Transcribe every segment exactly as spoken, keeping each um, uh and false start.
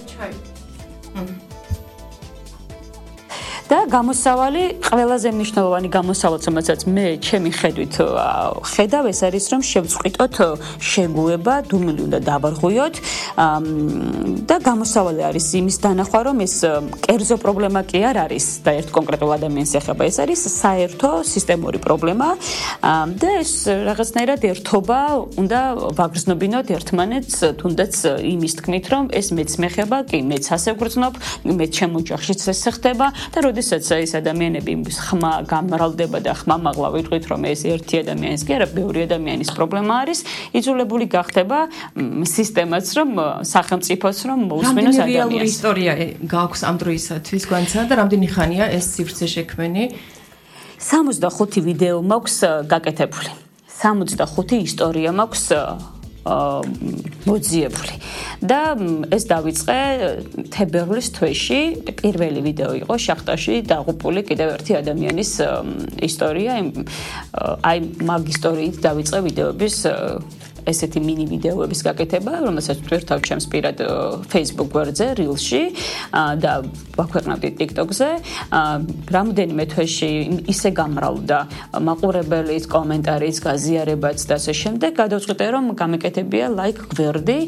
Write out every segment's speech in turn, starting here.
ჩაი. და გამოსავალი ყველაზე მნიშვნელოვანი გამოსავალ, რომელსაც მე ჩემი ხედვით ხედავ, ეს არის რომ შევწყვიტოთ შეგუება, დუმილი უნდა დავარღვიოთ და გამოსავალი არის იმის დანახვა, რომ ეს კერძო პრობლემა კი არ არის და ერთ კონკრეტულ ადამიანს ეხება, ეს არის საერთო სისტემური პრობლემა და ეს რაღაცნაირად ერთობა უნდა ვაგრძნობინოთ ერთმანეთს, თუნდაც იმის თქმით, რომ ეს მეც მეხება, კი მეც ასე ვგრძნობ, მე ჩემ ოჯახშიც ეს ხდება და როდესაც ეს ადამიანები ხმა გამრავლდება და ხმამაღლა ვიტყვით, რომ ეს ერთი ადამიანის კი არა, ბევრი ადამიანის პრობლემა არის, იძულებული გახდება სისტემაც, რომ სახელმწიფოც, რომ მოусმინოს ადამიანს. რამდენი რეალური ისტორია გაქვს ამ დროისათვის განცადა და რამდენი ხანია ეს სივრცე შექმენი? სამოცდახუთი ვიდეო მაქვს გაკეთებული. სამოცდახუთი ისტორია მაქვს მოძიებული და ეს დავიწყე თებერვლის თვეში. პირველი ვიდეო იყო შახტაში დაღუპული კიდევ ერთი ადამიანის ისტორია. აი მაგ ისტორიით დავიწყე ვიდეოების ესეთი მინი ვიდეოების გაკეთება, რომელსაც ვტვირთავ ჩემს პირად Facebook გვერდზე, Reels-ში და ვაქვეყნავდი TikTok-ზე. რამდენიმე თვეში ისე გამრავლდა მაყურებელიც, კომენტარიც, გაზიარებაც და ასე შემდეგ. გადავწყვიტე, რომ გამეკეთებია like გვერდი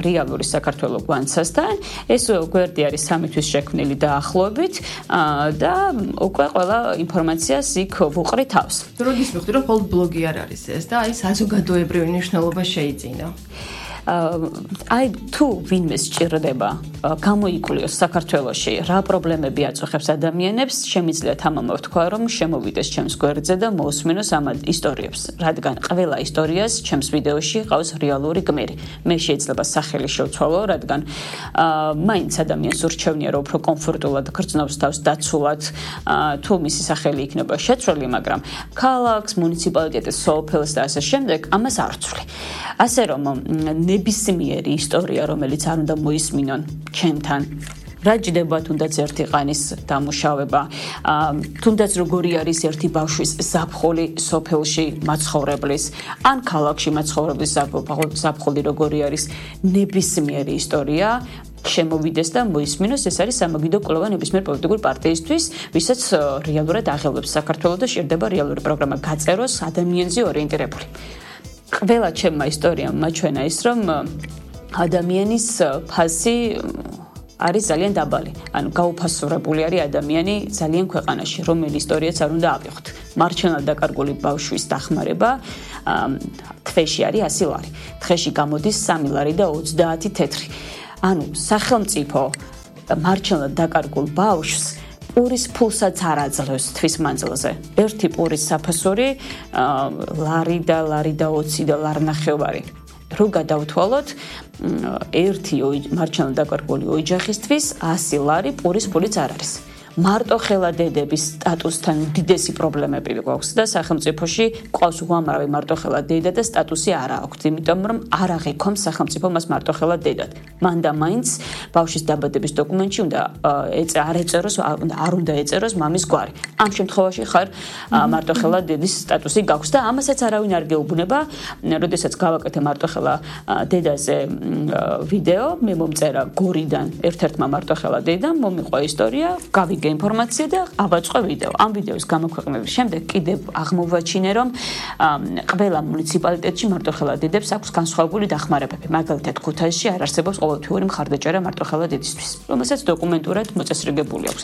რეალური საქართველოს გვანცასთან. ეს გვერდი არის სამი თვის შექმნილი დაახლოებით და უკვე ყველა ინფორმაციას იქ ვუყრი თავს. როდის მივხვდი, რომ მხოლოდ ბლოგი არ არის ეს და აი საზოგადოებრივი მნიშვნელობა შეიძინა. აი თუ ვინმე სჭირდება გამოიკლიოს საქართველოში რა პრობლემები აწუხებს ადამიანებს, შემიძლია თამამად თქვა, რომ შემოვიდეს ჩემს გვერდზე და მოусმინოს ამ ისტორიებს, რადგან ყველა ისტორიას ჩემს ვიდეოში ყავს რეალური გმირი. მე შეიძლება სახელი შევცვალო, რადგან მაინც ადამიანს ურჩევნია, რომ უფრო კომფორტულად გრძნობს თავს დაცულად, თუ მისი სახელი იქნება შეცვლილი, მაგრამ ქალაქს, მუნიციპალიტეტის, სოფელს და ასე შემდეგ ამას არ ვცვლი. ასე რომ ნებისმიერი ისტორია, რომელიც არ უნდა მოისმინონ ჩემთან, რა ჯდება თუნდაც ერთი ყანის დამუშავება, თუნდაც როგორი არის ერთი ბავშვის ზაფხული სოფელში მაცხოვრებლის, ან ქალაქში მაცხოვრებლის ზაფხული როგორი არის, ნებისმიერი ისტორია შემოვიდეს და მოისმინოს. ეს არის სამაგიდო კვლევა ნებისმიერ პოლიტიკური პარტიისთვის, ვისაც რეალურად აღელვებს საქართველოს და შეიძლება რეალური პროგრამა გაწეროს ადამიანზე ორიენტირებული. ყველა ჩემმა ისტორიამ მაჩვენა ის, რომ ადამიანის ფასი არის ძალიან დაბალი. ანუ გაუფასურებული არის ადამიანი ძალიან ქვეყანაში, რომელი ისტორიაც არ უნდა ავიღოთ. მარჩენად დაკარგული ბავშვის დახმარება თვეში არის ასი ლარი. დღეში გამოდის სამი ლარი და ოცდაათი თეთრი. ანუ სახელმწიფო მარჩენად დაკარგულ ბავშვს პურის ფულსაც არ აძლევს თვის მანძილზე. ერთი პურის საფასური ლარი და ლარი და ოცი და ლარნახევარი. რო გადავთვალოთ, ერთი მარჩენად დაკარგული ოჯახისთვის ასი ლარი პურის ფულიც არ არის. მარტო ხელა დედების სტატუსთან უდიდესი პრობლემები გვაქვს და სახელმწიფოში ყავს უამრავი მარტო ხელა დედა და სტატუსი არ აქვს, იმიტომ რომ არ აღიქონს სახელმწიფო მას მარტო ხელა დედად. მან და მაინც ბავშვის დაბადების დოკუმენტში უნდა არ ეწეროს, არ უნდა ეწეროს მამის გვარი. ამ შემთხვევაში ხარ მარტო ხელა დედის სტატუსი გაქვს და ამასაც არავინ არ გეუბნება. როდესაც გავაკეთე მარტო ხელა დედაზე ვიდეო, მე მომწერა გორიდან ერთ-ერთმა მარტო ხელა დედამ, მომიყვა ისტორია, გავიგე ინფორმაცია და ავაწყო ვიდეო. ამ ვიდეოს გამოქვეყნების შემდეგ კიდევ აღმოვაჩინე, რომ ყველა მუნიციპალიტეტში მარტოხელა დედებს აქვს განსხვავებული დახმარებები. მაგალითად, ქუთაისში არ არსებობს ყოველთვიური მხარდაჭერა მარტოხელა დედისთვის, რომელსაც დოკუმენტურად მოწესრიგებული აქვს.